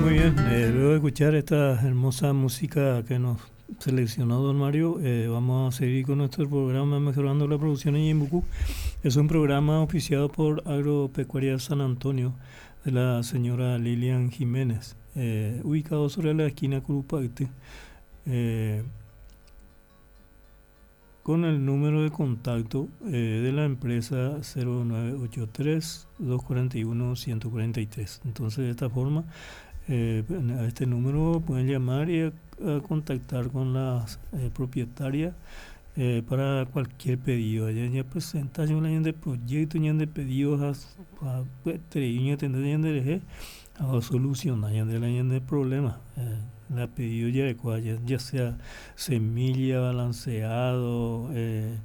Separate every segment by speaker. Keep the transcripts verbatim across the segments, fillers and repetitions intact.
Speaker 1: Muy bien, eh, luego de escuchar esta hermosa música que nos seleccionó don Mario, eh, vamos a seguir con nuestro programa Mejorando la Producción en Ñeembucú. Es un programa auspiciado por Agropecuaria San Antonio de la señora Lilian Jiménez, eh, ubicado sobre la esquina Curupayty, eh, con el número de contacto eh, de la empresa cero nueve ocho tres, dos cuarenta y uno, ciento cuarenta y tres. Entonces, de esta forma, eh, a este número pueden llamar y a, a contactar con la, eh, propietaria, eh, para cualquier pedido. Allá ya presentación de proyecto, ya de pedidos, a, a, pues, tres, ya tendrá ya de eje, a solucionar ya de la ya de problema. Eh, la pedido ya de cual, ya, ya sea semilla, balanceado, eh,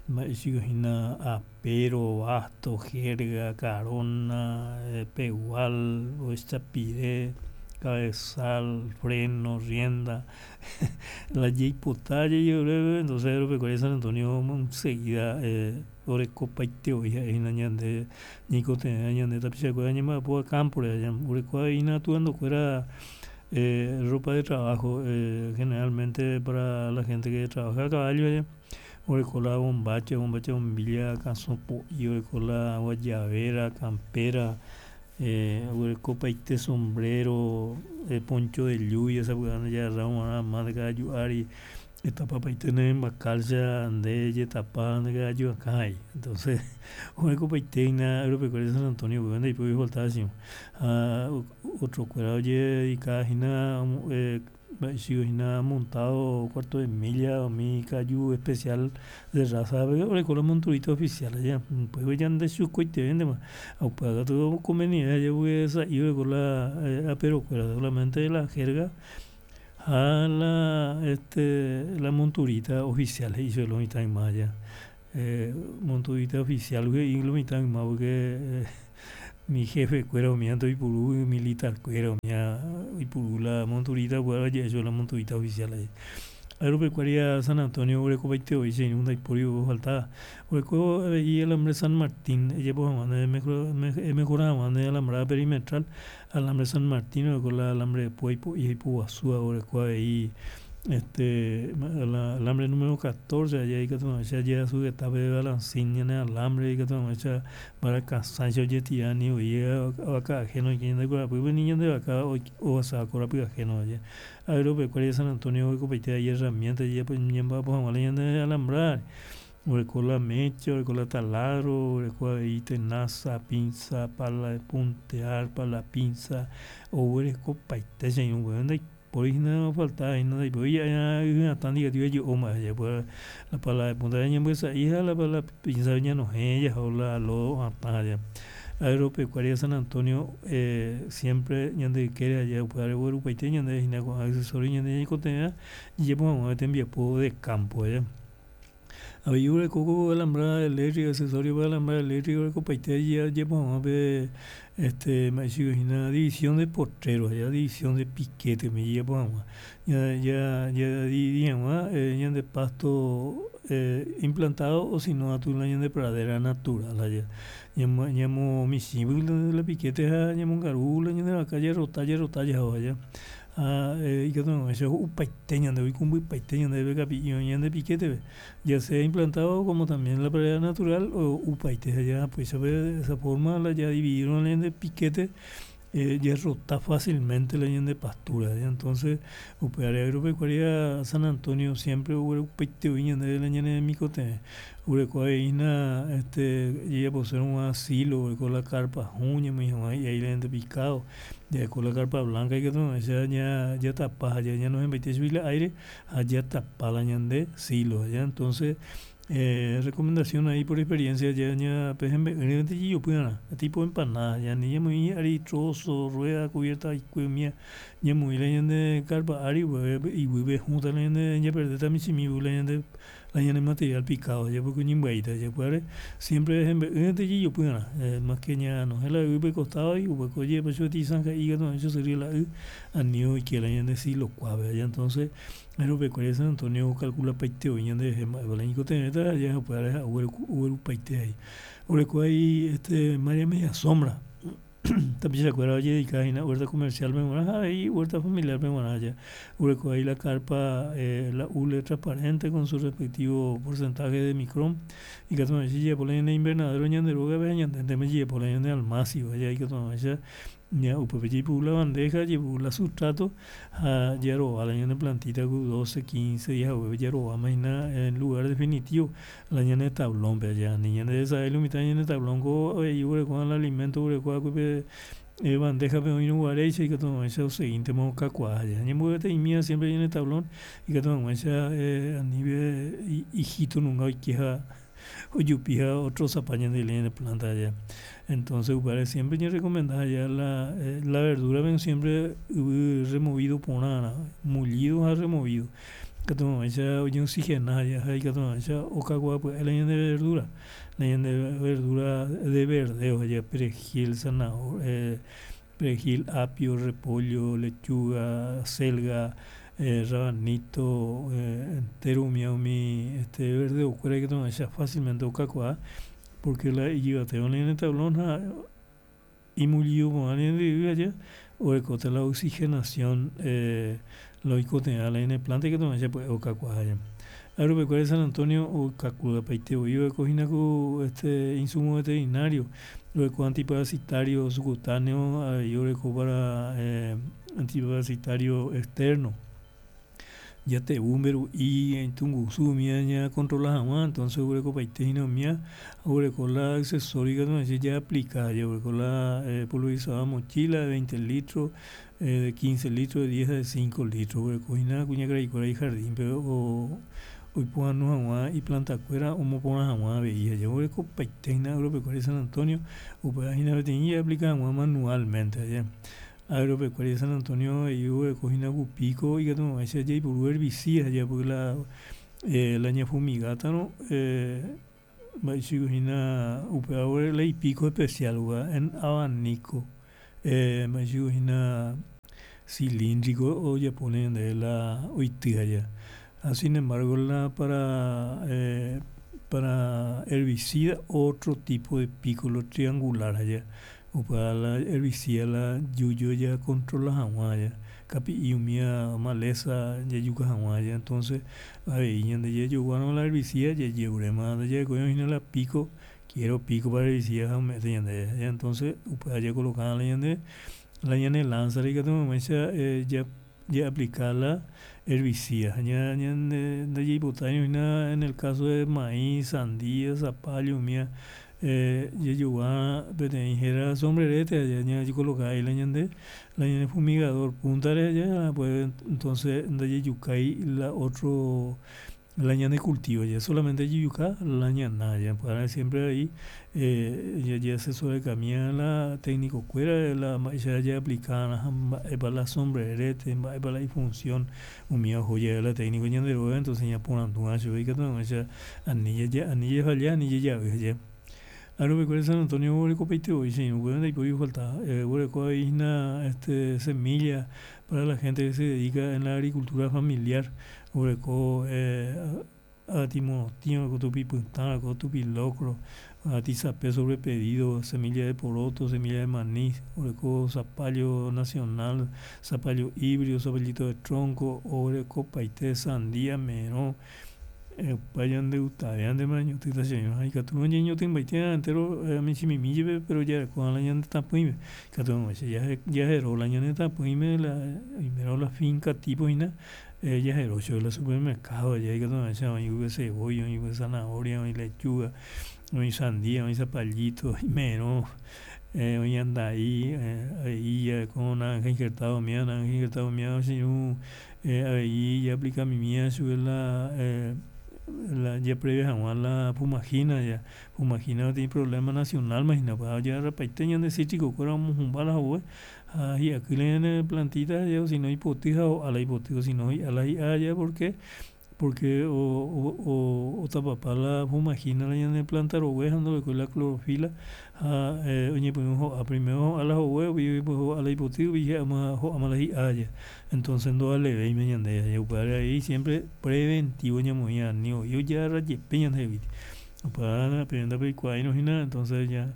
Speaker 1: ma, y sigo gina, apero, basto, jerga, carona, eh, pegual, o echapiré, cabezal, freno, rienda, la yeipotalla, yo creo, entonces Agropecuaria San Antonio enseguida, eh, orecopa y teoría, y na ñande, ñicote, ñande, tapichacuera, ñema, po, campo, ya, orecoa, y na, tuando cuera, eh, ropa de trabajo, eh, generalmente para la gente que trabaja a caballo, ya, orecola, bombacha, bombacha, bombilla, calzón, pollo, orecola, guayabera, campera, eh, orecopa y té, sombrero, eh, poncho de lluvia, esa hueá, ya ramo, nada más de cada yuari, esta papa y tener en bacalcha, ande, tapa, ande, cada yu acá hay. Entonces, orecopa y té, na, Agropecuaria San Antonio, pues, ande, y pues, faltaba así. Ah, o, otro cuerado, ye, y cada jina, eh, si jina montado cuarto de milla o mi cayu especial de raza, pero con los monturitos oficiales ya, pues ya ande su coite vende más, au paga todo convenía, ya voy a esa iba con la, eh, a pero fuera solamente la jerga a la, este, la monturita oficial, y yo lo mitad en más ya. Eh, monturita oficial, y lo mitad en más porque, eh, mi jefe cuero mía, y purú, militar cuero mía, y purú la monturita, bueno, ya yo la monturita oficial ahí. Agropecuaria San Antonio, Oreco veinte hoy, sin un daiporio faltaba. Oreco y el alambre San Martín, ella pues, mande, mejor, me, mejoraba, mande alambrada perimetral, alambre San Martín, Oreco la alambre de Pueypo y Puguazú, Oreco ahí, este, la, alambre número catorce, allá hay que tomar, ya llega su etapa de balancín, en el alambre, hay que tomar, ya para cansancio, ya tirani, oye, vaca ajeno, y quien de cora, pues, niño de vaca, o, o sea, cora, pues, ajeno, allá. Agropecuaria San Antonio, oye, copete, hay herramientas, ya, pues, ya va, pues, vamos a de alambrar. Oye, con la mecha, oye, con la taladro, oye, con ahí tenaza, pinza, pala de puntear, pala pinza, oye, copaite, señor, bueno, de por ahí no faltaba, y no, y pues ya, ya, ya, tan diga, tío, yo, oh, ma, ya, pues, la pala de punta de ña, pues, hija, la pala pinza, ya no, ella, o la, lo, ah, pa, ya. Agropecuaria San Antonio, eh, siempre, ña de quiere, ya, pues, ahora, bueno, pues, ña de, ña, con accesorio, ña de, ña, con tenía, y ya, pues, vamos a tener enviado de campo, ya. A ver, yo le coco alambrada eléctrica, accesorio para alambrada eléctrica, le copa y te, ya, ya, pues, vamos a ver, este, me dice, una división de potreros, ya, división de piquete, me lleva, pues, vamos, ya, ya, ya, di, digamos, eh, ya de pasto, eh, implantado o si no, a tu la de pradera natural, allá. Ya mo, ya mo, mi sí, porque la, la piquete, ya, ya mo garula, ya de la calle, rotalla, rotalla, allá. Ah, eh, y que no, eso es un paiteño, donde voy con un paiteño, donde ve capillo, y de piquete, ve. Ya sea implantado como también la pradera natural o upaite, ya, pues, se ve de esa forma, la ya dividieron en de piquete, eh, ya rota fácilmente la de pastura, ya. Entonces, upearia agropecuaria San Antonio siempre hubo upaite, viña de la ñane de micote, hubo una, este, ya por ser un asilo, con la carpa juña, mi hijo, y ahí le picado, ya con la carpa blanca y que todo, ya, ya, ya tapa, ya, ya no se mete subir el aire, allá tapa la ñande silo, ya. Entonces, eh, recomendación ahí por experiencia, ya, ya, pues, en vez, en el yo puedo, nada, tipo empanada, ya, ni ya muy ari trozo, rueda cubierta y cuemia, ya muy la ñande carpa ari, pues, y vuelve junta la ñande, ya perder también si mi la ñande, la ñande material picado, ya porque ni baita, ya puede, siempre en vez, en el yo puedo, nada, eh, más que ya no es la U costado y pues, oye, pues yo te zanja y no, eso sería la U, anio y que la ñande sí lo cuave, ya. Entonces, Agropecuaria San Antonio calcula paiteo, y ñande, eh, ma, la ñico teneta, ya puede haber, hubo, hubo paite ahí. Hubo ahí, este, María Media Sombra. Tapichakuéra ojededica hína huerta comercial-pe g̃uarã ha avei huerta familiar-pe g̃uarã ja oreko ahí la carpa, eh, la hule transparente con su respectivo porcentaje de micrón ikatu hag̃uáicha ijejapo la ñane invernadero ñande rógape ha ñandéntema ijejapo la ñane almácigo ja ikatu hag̃uáicha ña upépe jaipuru la bandeja, jaipuru la sustrato ha jarova la ñane plantita ku doce, quince días haguépe jarováma hína en lugar definitivo la ñane tablón-pe ja ani ñande desahel lo mitã ñane tablón-ko avei oguereko la alimento oguereko eh, bandeja-pe oĩrõguaréicha ikatu hag̃uáicha oseguíntema okakuaa ja ñambovete'imíva siempre ñane tablón ikatu hag̃uáicha eh, anive ijito nunga oike ha ojupi ha otrozapa ñande ñane planta ja. Entonces upévare siempre ñarecomenda ja la, eh, la verdura siempre yvy removido porãrã, mullido ha removido ikatu hag̃uáicha ojeoxigena ja ha ikatu hag̃uáicha okakuaa pya'e la ñande verdura, la ñande verdura de verdeo ja perejil, zanahoria, eh, perejil, apio, repollo, lechuga, acelga, eh, rabanito, eh, entero umi umi este verdeo-kuéra ikatu hag̃uáicha fácilmente okakuaa porque la ijyvatéva ñane tablón ha imullido porã ñande yvy aja orekóta la oxigenación eh, la oikotevẽva la ñane planta ikatu hag̃uáicha pya'e okakuaa ja. Agropecuaria San Antonio okakuaapaite voi oreko hína ku este insumo veterinario, oreko antiparasitario subcutáneo avei oreko para eh, antiparasitario externo jatevu mberu'i tungusu umíva ñacontrola hag̃ua, entonces oguerekopaite hína umíva oguereko la accesorio ikatu hag̃uáicha jaaplica ja oguereko la eh, pulverizadora mochila de veinte litros, eh, de quince litros, de diez, de cinco litros oguereko hína kuñakaraikuéra ijardín-pe o oipohãno hag̃ua iplantakuéra omoporã hag̃ua avei ja oguerekopaite hína Agropecuaria San Antonio upéva hína peteĩ jaaplica hag̃ua manualmente ja. Agropecuaria San Antonio avei oguereko hína ku pico ikatu hag̃uáicha jaipuru herbicida ja porque la eh, la ñafumigátarõ eh, mba'eichagua hína upéva la ipico especial en abanico eh, mba'eichagua hína cilíndrico ojapóne ñandéve la oity aja ha sin embargo la para eh, para herbicida otro tipo de pico lo triangular aja upéva la herbicida la yuyu jacontrola hag̃ua ja kapi'i umíva maleza jajuka hag̃ua ja entonces avei ñande jajoguárõ la herbicida jajeruréma ndajarekói hína la pico, quiero pico para herbicida ha ome'ẽta ñandéve ja entonces upéva jacoloca la ñande la ñane lanza ikatu hag̃uáicha eh, ja jaaplica la herbicida ha ña ñande ndajaipotái hína en el caso de maíz, sandía, zapallo umíva eh, jajogua peteĩ héra sombrerete ja ñacoloca ahí la ñande la ñane fumigador punta-re ja pues entonces ndajajukái la otro la ñane cultivo ja solamente jajuka la ñana ja para siempre ahí eh, jajeasesorakamíva la técnico-kuéra la mba'éicha jaaplica ha mba'épa la sombrerete mba'épa la ifunción umíva oho jave la técnico ñande róga entonces ñaporandúva chupe ikatu hag̃uáicha ani jaja ani jafalla ani jajavy ja. Agropecuaria San Antonio oguerekopaite voi che irũ upéva ndaipóri falta eh, oguereko avei hína este semilla para la gente que se dedica en la agricultura familiar oguereko eh, avati morotĩ, oguereko tupi pytã, oguereko tupi locro, avati sape sobre pedido, semilla de poroto, semilla de maní, oguereko zapallo nacional, zapallo híbrido, zapallito de tronco, oguerekopaite sandía, merõ opa ñandegustave añotỹta che irũ ha ikatu ñañotỹmbaite entero michĩmimi jepe pero jarekóva la ñande tapỹime ikatu hag̃uáicha jahero la ñane tapỹime la oimérõ la finca tipo hína eh, jahero chupe la supermercado ja ikatu hag̃uáicha oĩ pype cebolla, oĩ pype zanahoria, oĩ lechuga, oĩ sandía, oĩ zapallito, merõ eh, oĩ andai eh, avei jareko naranja injertado umíva naranja injertado umíva che irũ eh, avei jaaplicamimíva chupe la eh, la japreve hag̃ua la fumagina ja fumagina peteĩ problema nacional ma hína pa ojagarrapaite ñande cítrico-kuéra omohũmba la hogue ha hi'aky la ñane plantita ja sino ipoty ha ho'a la ipoty sino hi'a la hi'a ja porque porque o, o, otapapa la fumagina la ñane planta rogue ha ndorekói la clorofila ha eh, oñepyrũ ho'a primero ho'a la hogue upéi ho'a la ipoty upéi hi'áma ho'áma la hi'a ja entonces ndovalevéima ñande ja upévare avei siempre preventivo ñamoĩ ani voi ojagarra jepe ñandehegui upéva peẽ ndapeikuaáirõ hína entonces ya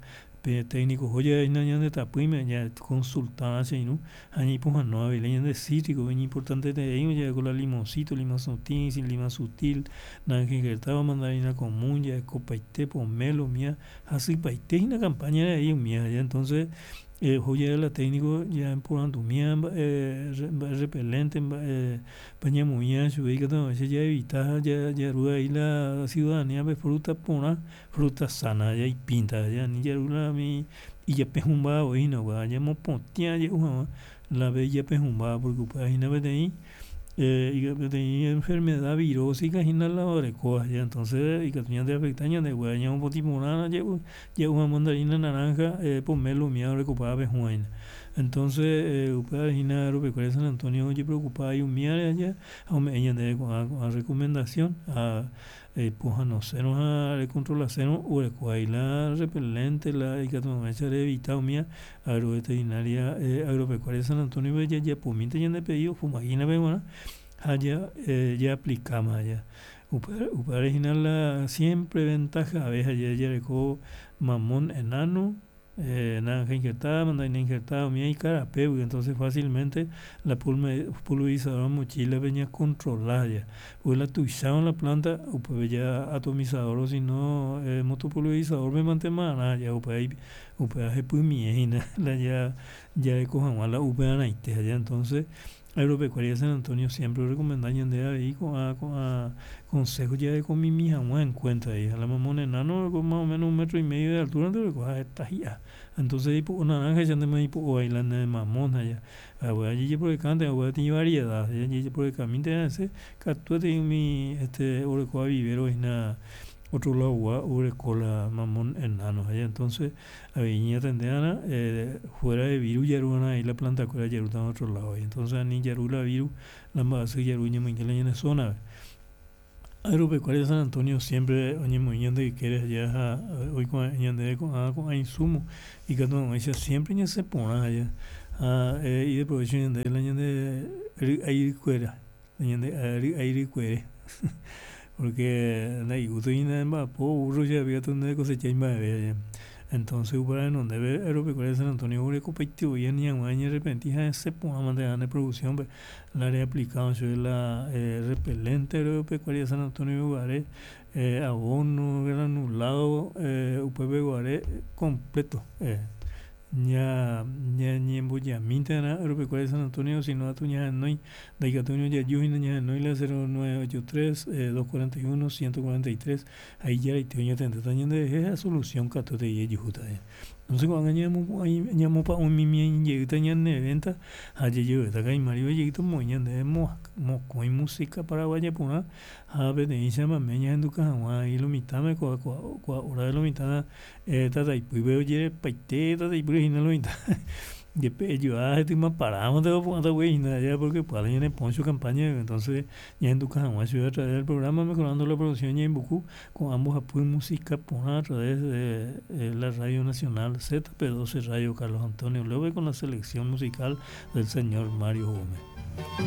Speaker 1: Pe técnico joya ñande tapỹime ya consultar che irũ ha ñaipohãno avei ñande cítrico iñimportante ya la limoncito, lima sutil, lima sutil, naranja injertada, mandarina común, jaekopaite pomelo umía hasypaite hína campaña rei umía ya entonces eh, joya la técnico ya porandumía mba'e mba'e repelente mba'e pañamoĩa chupe ikatu hag̃uáicha jaevita ja jaru avei la ciudadanía pe fruta porã fruta sana ya ipinta ya ani jaru la umi ijapehũmbava voi hína upéva ñamopotĩa ja'u hag̃ua la ve ijapehũmbáva porque upéva hína peteĩ eh, peteĩ enfermedad virósica hína la orekóva ya entonces ikatu ñande afecta ñande upéva ñamopotĩ porã ja'u ja'u hag̃ua mandarina naranja eh, pomelo umía orekopáva pehũva hína entonces eh, upéva hína agropecuaria San Antonio ojepreocupa umíare aja ha ome'ẽ ñandéve ko'ã ko'ã recomendación ha pohãnosérõ ha recontrolasérõ oreko ahí la repelente la ikatu hag̃uáicha reevita umía agroveterinaria eh, agropecuaria San Antonio jajapomínte ñande pedido fumagina-pe g̃uarã ha ja eh, ya aplicama ya upévare hína la siempre ventaja ave ha jareko mamón enano eh, naranja injertada, mandarina injertada, umía ikarapégui entonces fácilmente la pulverizadora mochila-pe ñacontrola ya porque la tuicháva la planta upépe ya atomizador o si no eh, motopulverizador-pe mantema ya upéva upéva hepymie hína la ya jareko hag̃ua la upearãite ya entonces Agropecuaria San Antonio siempre recomenda ñande avei ko'ã ko'ã consejo jarekomimi hag̃ua en cuenta ahí la mamón enano más o menos un metro y medio de altura oreko heta hi'a entonces ipo'o naranja chandema ipo'o ahí la ne mamón ya jajeporekánte upéva variedad jajeporekamínte hese katuete umi este orekóva vivero hína otro lado gua oreko la mamón enano ya entonces avei ñatende'arã eh, fuera de virus jaru'arã ahí la planta kuéra jarúta otro lado entonces ani jaru la virus la mba'asy jaru ñamoinge la ñane zona Agropecuaria San Antonio siempre oñemoĩ ñande ykére allá ha oikuaa ñandéve ko'ã ko'ã insumo ikatu hag̃uáicha siempre ñasẽ porã allá ha eh, ideprovecho ñande la ñande ry'aikuéra ñande ry'aikuére porque ndaigusto hína mba'apo burro che nde cosecha mba'eve allá entonces upéva renondépe Agropecuaria San Antonio orekopaite voi ani hag̃ua ñarrepenti ha esẽ porã mante ne producción-pe la reaplicado chupe la eh, repelente Agropecuaria San Antonio guare eh, abono granulado eh, upépe guare completo eh, ña ñañembojamínte Agropecuaria San Antonio sino atu ñahenói ndaikatúi jaju hína ñahenói la cero nueve ocho tres eh, dos cuarenta y uno ciento cuarenta y tres ahí jaraite oñatendéta ñanderehe ha solución katuete jejuhúta entonces ko'ág̃a ñamopa'ũmimi jeýta ñane venta ha jejevéta kaimári jeýta moĩ ñandéve mokõi música paraguaya porã ha peteĩ chamame ñahenduka hag̃ua ahí lo mitãme kua kua hora de lo mitã eh, tataipýpe ojerepaite tataipýre hína lo mitã jepe ejoa hetyma parámante opu'ãta guei hína allá porque pya'e ñane poncho campaña entonces ñahenduka hag̃ua chupe a través del programa mejorando la producción ñaimbuku ko'ã mbohapy música porã a través de eh, la Radio Nacional Z P doce Radio Carlos Antonio López con la selección musical del señor Mario Gómez.